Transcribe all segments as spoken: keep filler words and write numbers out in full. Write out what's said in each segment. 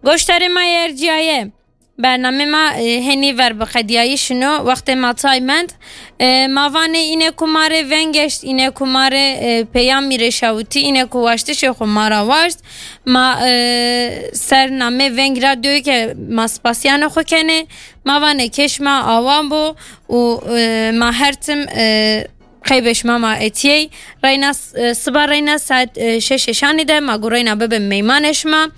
Goştarê ma yê erciyaye. Bernamê ma e, henî ver bi qediyayî şino, wextê ma tay mend. E, ma vanê îne ku ma rê veng eşt, îne ku ma rê e, peyamî rê şawitî, îne ku waştişê xwe ma ra waşt. Ma e, ser namê Veng Radyoyê ke ma spasiyanê xwe kenê. Ma vanê kêş ma awan bo û e, ma her tim e, qeybê şima ma etiyey. Reyna s- e, siba reyna saet e, şeşê şanî de ma gu reyna bibin meymanê şima.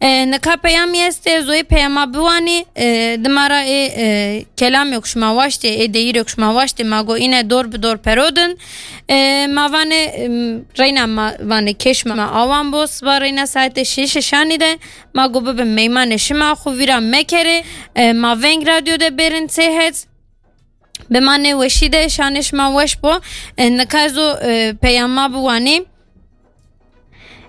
E, nika peyamî estê, zoyê peyama biwanî. E, dima ra ê e, kelamê ku şima waştê, ê deyîrê ku şima waştê, ma gu îne dor bi dor perodin. E, ma vanê em, reyna ma vanê kêş ma awan bo, siba reyna saetê şeşê şanî de ma gu bibin meymanê şima, xwe vîra mekerê. E, ma Veng Radyo de bêrin têhet. Bi manê weşî de şanê şima weş bo. E, nika ez o e, peyama biwanî.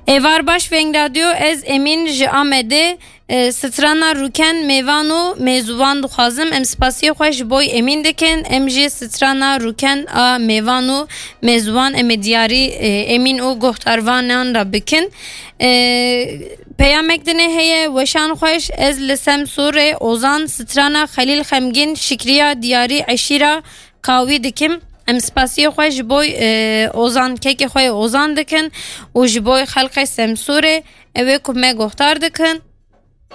Êvar baş Veng Radyo, ez Emîn ji Amedê. E, strana Rûken mêvan û mêzûvan dixwazim. Em spasiyê xwe ji boy Emîn dikin. Em jî strana Rûken a mêvan û mêzûvan em ê diyarî e, Emîn û guhdarvanan re bikin. E, peyamek dinê heye, weşan xweş, ez li Semsûrê Ozan, strana Xelîl Xemgîn, Şikriya Diyarî Eşîra Kawî dikim. Em spasiyê xwe ji boy e, Ozan, kekê xwe yê Ozan dikin û ji boy xelqê Semsûrê, ew ê ku me guhdar dikin.